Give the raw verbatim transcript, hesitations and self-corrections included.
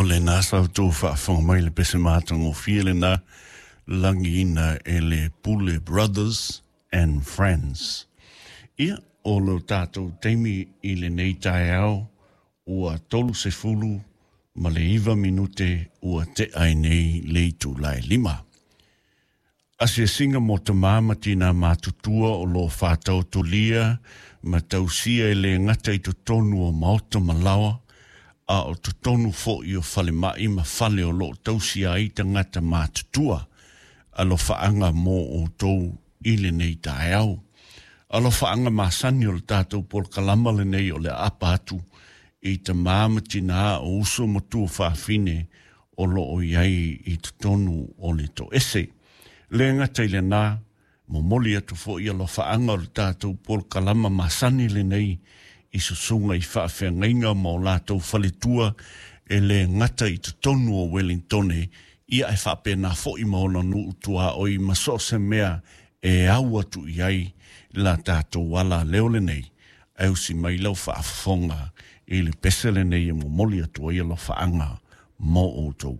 lena sa outou faafofoga mai le pese matagofie lena lagiina e le Pule Brothers and Friends. Ia, o lo tatou taimi i lenei taeao ua tolu sefulu ma le iva minute ua tea ai nei le itula e lima. Asiasiga mo tamā ma tinā matutua o lo o faataotolia ma tausia e le gata i totonu o maota ma laoa, a o totonu fo'i o falema'i ma fale o loo tausia ai tagata matutua. Alofaaga mo outou i lenei taeao. Alofaaga masani o le tatou polokalama lenei o le aapa atu i tamā ma tinā o uso ma tuafafine o loo i ai i totonu o le toese. Le gata i lenā, momoli atu fo'i alofaaga o le tatou polokalama masani lenei i susuga i faafeagaiga ma o latou faletua e le gata i totonu o Wellingtone, ia e faapena fo'i ma ona nuu tuaoi ma so o se mea e au atu i ai la tatou ala leo lenei. Ae usi mai lau faafofoga i le pese lenei e momoli atu ai alofaaga mo outou.